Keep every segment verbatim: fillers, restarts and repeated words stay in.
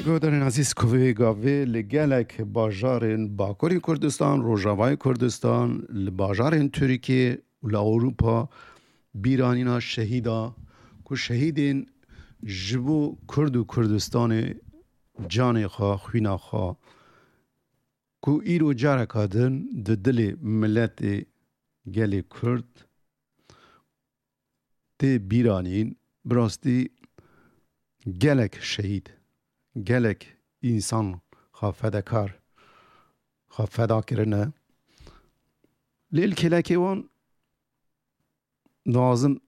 Guhdarên ezîz, ku vê gavê li gelek bajarên Bakurê Kurdistan, Rojavayê Kurdistan, li bajarên Tirkiyê û li Ewropa bîranîna şehîda, ku şehîdên ji bo Kurd û Kurdistanê canê xwe, xwîna xwe, ku îro careka din di dilê miletê gelê Kurd tê bîranîn, bi rastî gelek şehîd, gelek însan xwe fedekar, xwe feda kirine. Lê li kêlekê wan dixwazim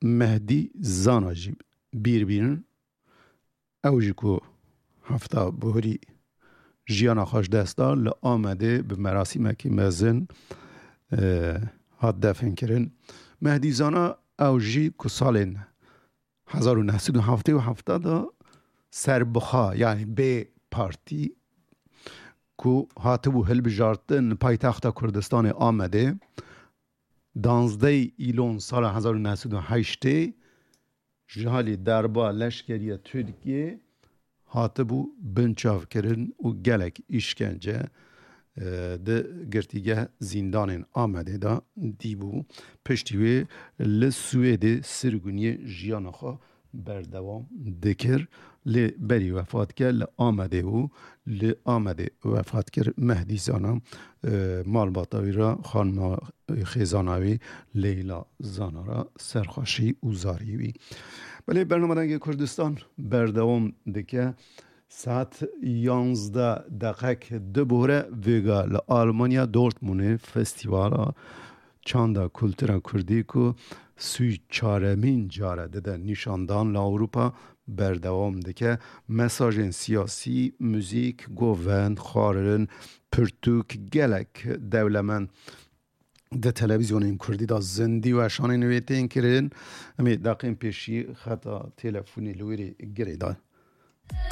Mehdî Zana jî bîr bînin. Ew jî ku hefta buhurî jiyana xwe ji dest da, li Amedê bi merasîmekî mezin, e, hat definkirin. Mehdî Zana, ew jî ku salên hezar û neh sed û heftê û heft de serbixwe, yanî bê partî, ku hatibû hilbijartin li paytexta Kurdistanê Amedê, danzdeh îlon sala hezar û neh sed û heştê ji halî derba leşkeriya Tirkiyê hatibû binçavkirin û gelek îşkence, e, di girtîgeh zîndanên Amedê de dîbû. Piştî wê li Swêdê sirgûniyê jiyana xwe berdewam dikir. Lê berî wefat kir li Amedê bû. Li Amedê wefat kir Mehdî Zana, e, malbata wî re, xanima xêzana wî Leyla Zana re serxweşî û zarî wî. Belê, bernama Dengê Kurdistan berdewam dike. Saet yanzdeh deqek dibore vêga li Almanya Dortmundê festîvala çanda kultura kurdî ku sî û çaremîn care dide nîşandan li Ewropa berdewam dike. Mesajên siyasî, muzîk, govend, xwarin, pirtûk gelek dewlemend di televîzyonên kurdî de zindî weşanên wê tên kirin. Em ê deqên pêşî xeta telefonê li wê rê girê da.